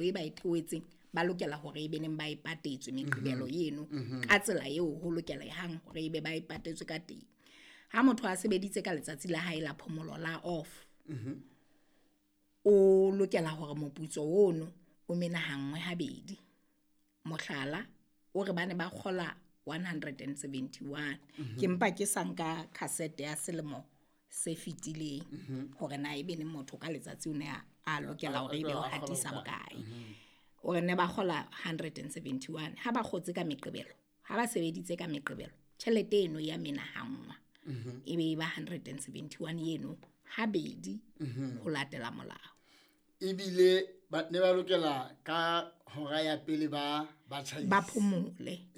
E ba e theohetseng, ba lokela hore e be neng ba e patetswe Meqebelo eno ka tsela eo ho lokelehang hore ebe ba e patetswe ka teng. Ha motho a sebeditse ka letsatsi la hae la phomolo la off, o lokela hore moputso ono o menahanngwe habedi. Mohlala, o re bane ba kgola 171, ke mpa ke sa nka cassette ya selemo se fetileng hore na ebe neng motho ka letsatsi o ne a lokela hore ebe o hatisa bokae. O re ne ba kgola 171, ha ba kgotse ka Meqebelo, ha ba sebeditse ka Meqebelo, tjhelete eno ya menahanngwa, e be e ba 171 eno habedi ho latela molao. Ebile ba ne ba lokela ka hora ya pele ba tjhaise. Ba phomole.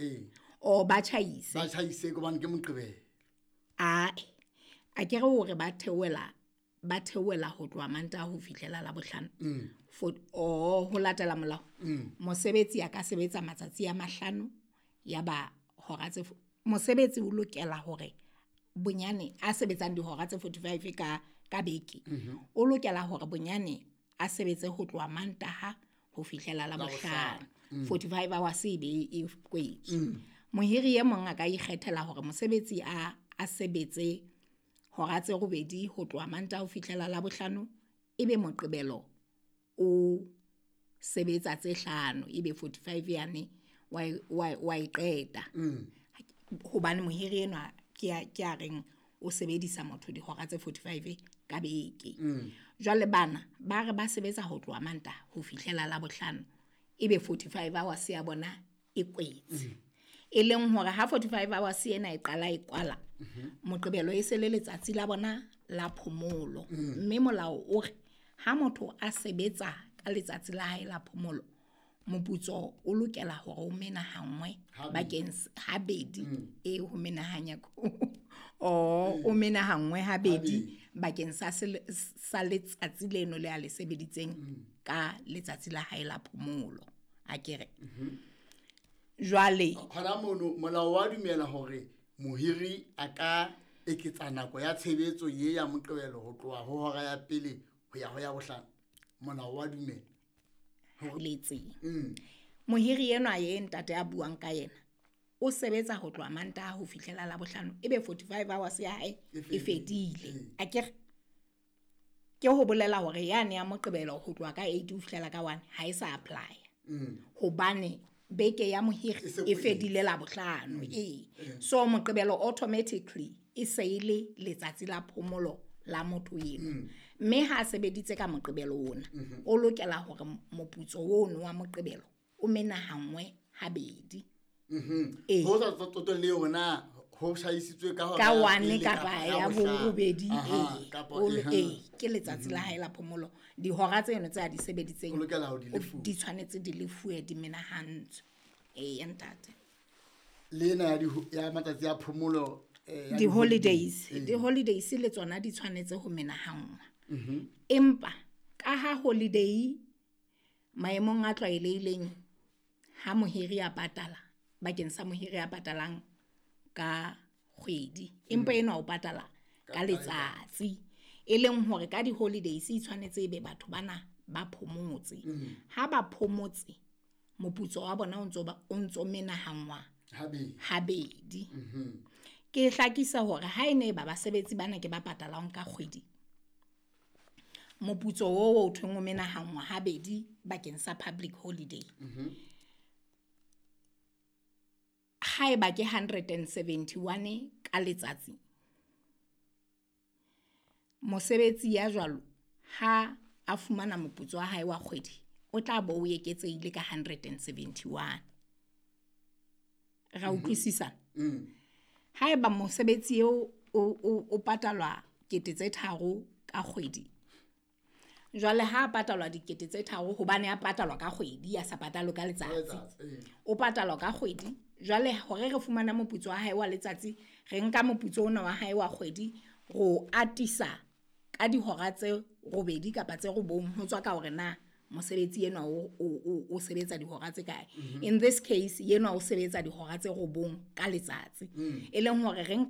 O ba tjhaise. Ba tjhaise hobane ke Moqebelo. Ae, a ke re hore ba theohela ho tloha Mantaha ho fihlela Labohlano. For o ho latela molao, mosebetsi a ka sebetsa matsatsi a 5 ya ba hora tse mosebetsi o lokela hore bonyane a sebetsang dihora tse 45 ka beke, o lokela hore bonyane a sebetse ho tloha Mantaha ho fihlela Labohlano, 45 hours e be e kwetswe. Mohiri e mong a ka ikgethela hore mosebetsi a sebetse hora tse 8 ho tloha Mantaha ho fihlela Labohlano, ebe Moqebelo o sebetsa tse 5, ebe 45 yane wa e qeta, hobane mohiri enwa ke a reng o sebedisa motho dihora tse 45 ka beke. Jwale bana ba re ba sebetsa ho tloha Mantaha ho fihlela Labohlano, ebe 45 hours ya bona e kwetse, e leng hore ha 45 hours ena e qala e kwala, Moqebelo e se le letsatsi la bona la phomolo. Mme molao o re ha motho a sebetsa ka letsatsi la hae la phomolo, moputso o lokela hore o menahanngwe bakeng habedi, e ho menahanya o menahanngwe habedi bakeng sa letsatsi leno le a le sebeditseng ka letsatsi la hae la phomolo, akere jwale. Hona mono molao wa dumela hore mohiri a ka eketsa nako ya tshebetso ye ya Moqebelo ho tloha ho hora ya pele ho ya ho ya bohlano? Molao wa dumela? Letseng mohiri enwa ye ntate a buang ka yena o sebetsa ho tloha Mantaha ho fihlela Labohlano, ebe 45 hours ya hae e fedile, akere ke ho bolela hore yane ya Moqebelo ho tloha ka 8 ho fihlela ka 1 ha e sa apply, hobane beke ya mohiri e fedile Labohlano. Ee, so Moqebelo automatically e se e le letsatsi la phomolo la motho eno, mme ha a sebeditse ka Moqebelo ona, o lokela hore moputso ono wa Moqebelo o menahanngwe habedi. Ee. Ho sa tsotelle hore na ho hlahisitswe ka hora ka ya 1 pele kapa ya bohlano. Borobedi. Aha, Ee. kapa Ee, ke letsatsi la hae la phomolo, dihora tseno tse a di sebeditseng O lokela ho di lefuwa. Di tshwanetse di lefuwe, di menahantswe. Ee, ntate. Le ena ya matsatsi a phomolo, ya Di-holidays. Ee. Di-holidays le tsona di tshwanetse ho menahanngwa, empa ka ha holiday maemong a tlwaelehileng ha mohiri a patala, bakeng sa mohiri a patalang ka kgwedi, empa enwa o patala ka letsatsi, e leng hore ka di-holidays e tshwanetse ebe batho bana ba phomotse. Ha ba phomotse, moputso wa bona o ntso menahanngwa habedi. Habedi. Ke hlakisa hore ha e ne ba basebetsi bana ke ba patalang ka kgwedi, moputso oo o thweng o menahanngwa habedi bakeng sa public holiday, haeba ke 171 ka letsatsi, mosebetsi ya jwalo ha a fumana moputso wa hae wa kgwedi, o tla bo o eketsehile ka 171. Ra utlwisisana? Haeba mosebetsi eo o patalwa 3 000 ka kgwedi, jwale ha a patalwa 3 000, hobane a patalwa ka kgwedi, a sa patalwe ka letsatsi. Letsatsi, ee. O patalwa ka kgwedi. Jwale hore re fumana moputso wa hae wa letsatsi, re nka moputso ona wa hae wa kgwedi, ro atisa ka dihora tse 8 kapa tse 9, ho tswa ka hore na mosebetsi enwa o sebetsa dihora tse kae. In this case, enwa o sebetsa dihora tse 9 ka letsatsi, e leng hore re nka